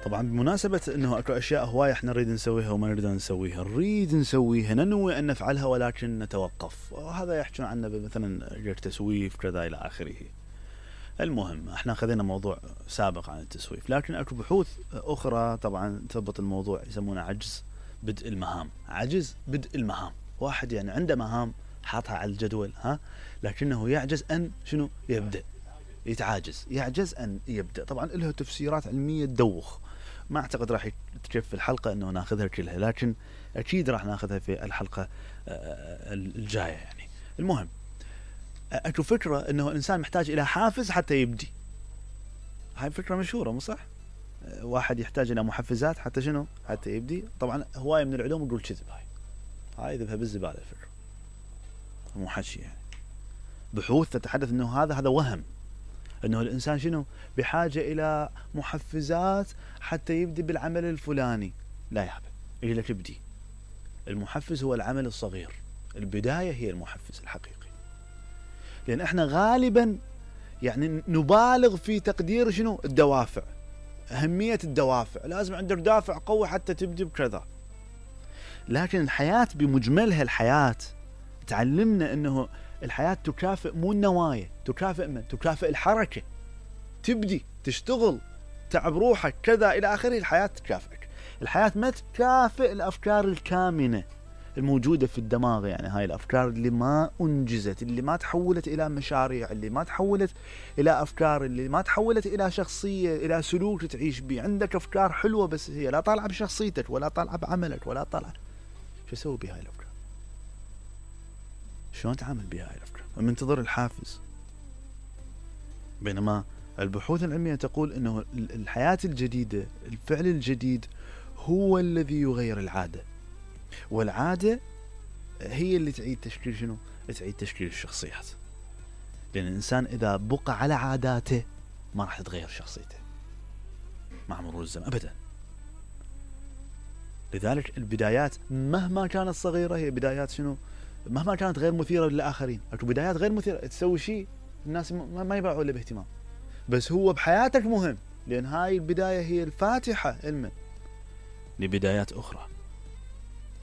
طبعا بمناسبة انه اكو اشياء هواية احنا نريد نسويها وما نريد نسويها، نريد نسويها ننوي ان نفعلها ولكن نتوقف، وهذا يحكون عنه مثلا التسويف كذا الى اخره. المهم احنا خذينا موضوع سابق عن التسويف، لكن اكو بحوث اخرى طبعا تضبط الموضوع، يسمونه عجز بدء المهام. عجز بدء المهام، واحد يعني عنده مهام حاطها على الجدول لكنه يعجز ان شنو يبدأ، يتعاجز، يعجز ان يبدأ. طبعا له تفسيرات علمية تدوخ، ما اعتقد راح تكفي الحلقة انه ناخذها كلها، لكن اكيد راح ناخذها في الحلقة الجاية يعني. المهم اكو فكرة انه الانسان محتاج الى حافز حتى يبدي. هاي فكرة مشهورة مو صح؟ واحد يحتاج الى محفزات حتى شنو؟ حتى يبدي. طبعا هواية من العلوم يقول كذب، هاي ذبها بالزبالة الفكرة، مو حكي يعني. بحوث تتحدث انه هذا وهم، انه الانسان شنو بحاجة الى محفزات حتى يبدي بالعمل الفلاني. لا يا حبيبي، يجي لك ابدي. المحفز هو العمل الصغير، البداية هي المحفز الحقيقي. لان احنا غالبا يعني نبالغ في تقدير شنو الدوافع، اهمية الدوافع، لازم عندك دافع قوي حتى تبدي بكذا. لكن الحياة بمجملها، الحياة تعلمنا انه الحياة تكافئ مو النوايا، تكافئ من؟ تكافئ الحركة، تبدي تشتغل تعب روحك كذا الى اخره. الحياة تكافئك، الحياة ما تكافئ الافكار الكامنة الموجودة في الدماغ، يعني هاي الافكار اللي ما انجزت، اللي ما تحولت الى مشاريع، اللي ما تحولت الى افكار، اللي ما تحولت الى شخصية، الى سلوك تعيش به. عندك افكار حلوة بس هي لا طالعة بشخصيتك ولا طالعة بعملك ولا طالعة. شو اسوي بهاي الافكار؟ شلون تعامل بهاي الافكار؟ منتظر الحافز. بينما البحوث العلمية تقول انه الحياة الجديدة، الفعل الجديد هو الذي يغير العادة، والعادة هي اللي تعيد تشكيل شنو؟ تعيد تشكيل الشخصيات. لأن الإنسان إذا بقى على عاداته ما راح تتغير شخصيته مع مرور الزمن أبدا. لذلك البدايات مهما كانت صغيرة هي بدايات شنو؟ مهما كانت غير مثيرة للآخرين. أكو بدايات غير مثيرة، تسوي شيء الناس ما يبعوا له باهتمام، بس هو بحياتك مهم، لأن هاي البداية هي الفاتحة علما لبدايات أخرى،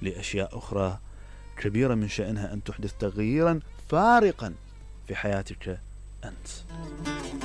لأشياء أخرى كبيرة من شأنها أن تحدث تغييرا فارقا في حياتك أنت.